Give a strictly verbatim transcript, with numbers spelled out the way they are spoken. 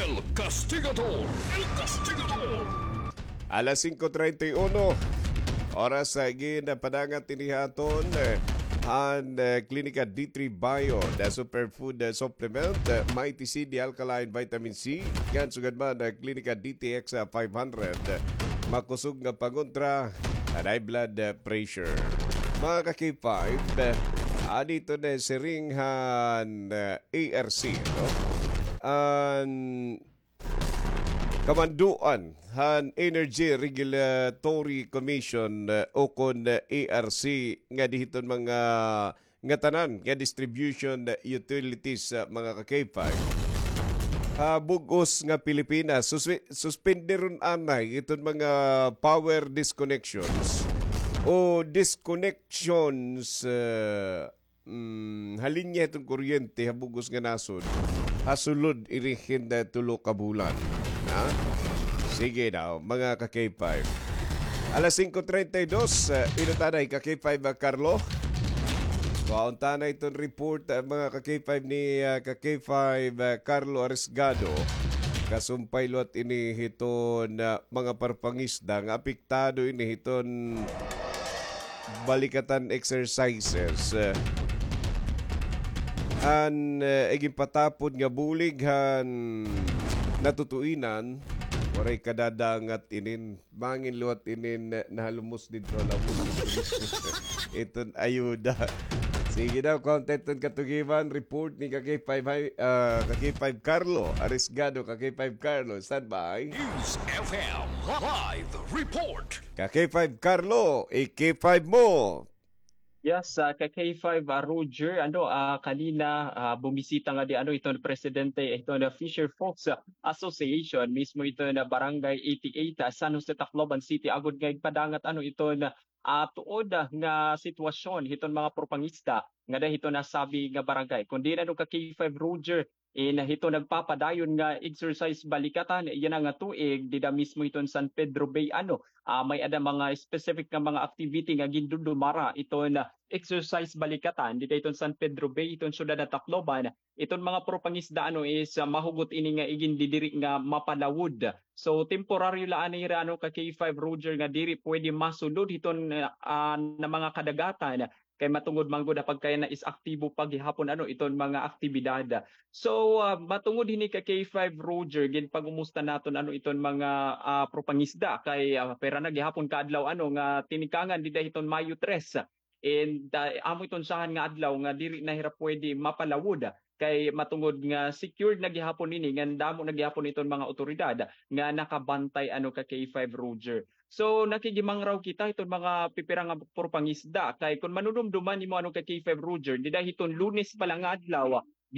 El Castigador. El Castigador. Alas singko treinta y uno. Oras sa gin padangat ini ha aton, eh, han, eh, Klinika D three Bio, the superfood, eh, supplement, eh, Mighty C, the alkaline vitamin C, ngan sugad man, eh, Klinika D T X, eh, five hundred, eh, makusog nga pangontra han high blood, eh, pressure. Mga ka-K five, eh, adto na siring han, eh, A R C, no? An kamanduan han Energy Regulatory Commission, eh, ukon, eh, A R C nga dinhi hiton mga ngatanan nga distribution utilities, ah, mga ka-K five. Ha bug-os nga Pilipinas, suspe-, suspenderon anay iton mga power disconnections o disconnections, ah, mm, ha linya hiton kuryente ha bug-os nga nasod ha sulod ini hin tulo ka bulan. Ha? Sige daw, mga ka-K five. Alas singko treinta y dos, eh, inot anay ka-K five, ah, Carlo. Kuhaon ta anay iton report, ah, mga ka-K five ni, ah, ka-K five, ah, Carlo Arisgado. Kasumpay liwat ini hiton, ah, mga parpangisda nga apektado ini hiton balikatan exercises, eh, han, eh, iginpatapod nga bulig han natutuinan, waray kadadangat inin, bangin liwat inin, eh, nahalumos didto ha lawom. Iton ayuda. Sige daw, kuhaon ta iton katugiman, report ni ka-K five, ah, ka-K five Carlo Arisgado, ka-K five Carlo, standby. News F M live report. Ka-K five Carlo, i-K five mo. Yes, ah, ka-K five, ah, Roger, ano, ah, kanina, ah, bumisita ngadi, ano, iton presidente, iton, ah, Fisher Folks, ah, Association, mismo iton, ah, Barangay eighty-eight, ah, San Jose, Tacloban City, agod nga igpadangat, ano, iton, ah, tuod, ah, nga sitwasyon hiton mga propangista ngada hiton nasabi nga barangay. Kundi, ano, ka-K five Roger, in hito nagpapadayon nga exercise balikatan yana nga tuig dida mismo hiton San Pedro Bay, ano, ah, may-ada mga specific nga mga activity nga gindudumara iton, ah, exercise balikatan dida hiton San Pedro Bay, hiton syudad han Tacloban. Iton mga propangisda, ano, is, ah, mahugot ini nga igindidiri nga mapalawod. So, temporaryo la anay hira, ano, ka-K five Roger, nga diri pwede masulod hiton, ah, na mga kadagatan. Kay matungod man gud ha pagkayana is aktibo pa gihapon, ano, iton mga aktibidad. So, ah, matungod hini ka-K five Roger, ginpangumusta naton, ano, iton mga, ah, propangisda kay, ah, pira na gihapon ka adlaw, ano, nga tinikangan dida hiton Mayo tres. And, ah, amo iton usahan nga adlaw nga diri na hira pwede mapalawod kay matungod nga secured na gihapon ini, ngan damo na gihapon iton mga awtoridad nga nakabantay, ano, ka-K five Roger. So, nakigimangraw kita hiton mga pipira nga propangisda. Kay kun manunumduman nimo, ano, ka-K five Roger, dida hiton Lunes pa la nga adlaw,